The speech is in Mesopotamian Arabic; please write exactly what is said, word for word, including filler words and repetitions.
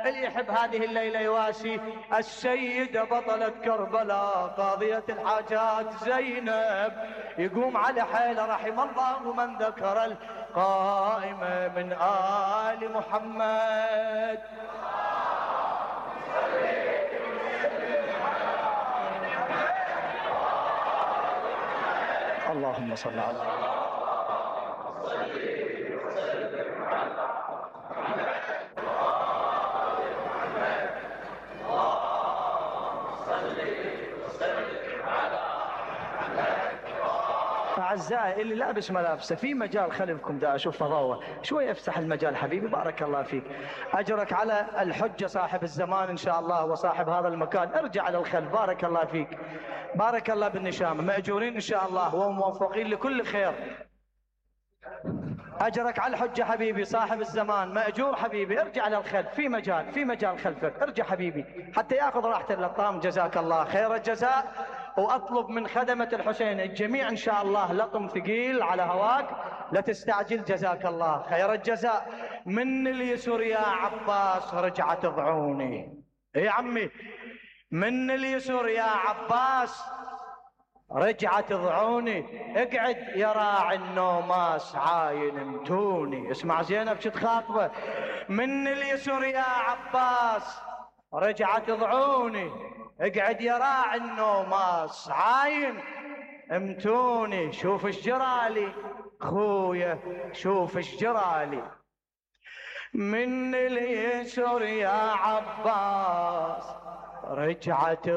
اللي يحب هذه الليلة يواسي السيدة بطلة كربلاء قاضية الحاجات زينب، يقوم على حيل رحم الله من ذكر القائمة من آل محمد. اللهم صل على أعزائي اللي لابس ملابسه في مجال خلفكم، دا أشوف فضاوة شوي، افتح المجال حبيبي بارك الله فيك. أجرك على الحجة صاحب الزمان إن شاء الله وصاحب هذا المكان، ارجع على الخلف بارك الله فيك. بارك الله بالنشامة، مأجورين إن شاء الله وموفقين لكل خير. أجرك على الحجة حبيبي صاحب الزمان، مأجور حبيبي، ارجع على الخلف في مجال، في مجال خلفك، ارجع حبيبي حتى ياخذ راحة اللطام. جزاك الله خير الجزاء. وأطلب من خدمة الحسين الجميع إن شاء الله لطم ثقيل على هواك، لا تستعجل. جزاك الله خير الجزاء. من اليسر يا عباس رجعت ضعوني، يا عمي من اليسر يا عباس رجعت ضعوني، اقعد يا راعي النوماس عاين امتوني. اسمع زينب شو تخاطبه، من اليسر يا عباس رجعت ضعوني، اقعد يا راعي النوماس عاين امتوني. شوف ايش جرالي خويا، شوف ايش جرالي. من اليسر يا عباس رجعت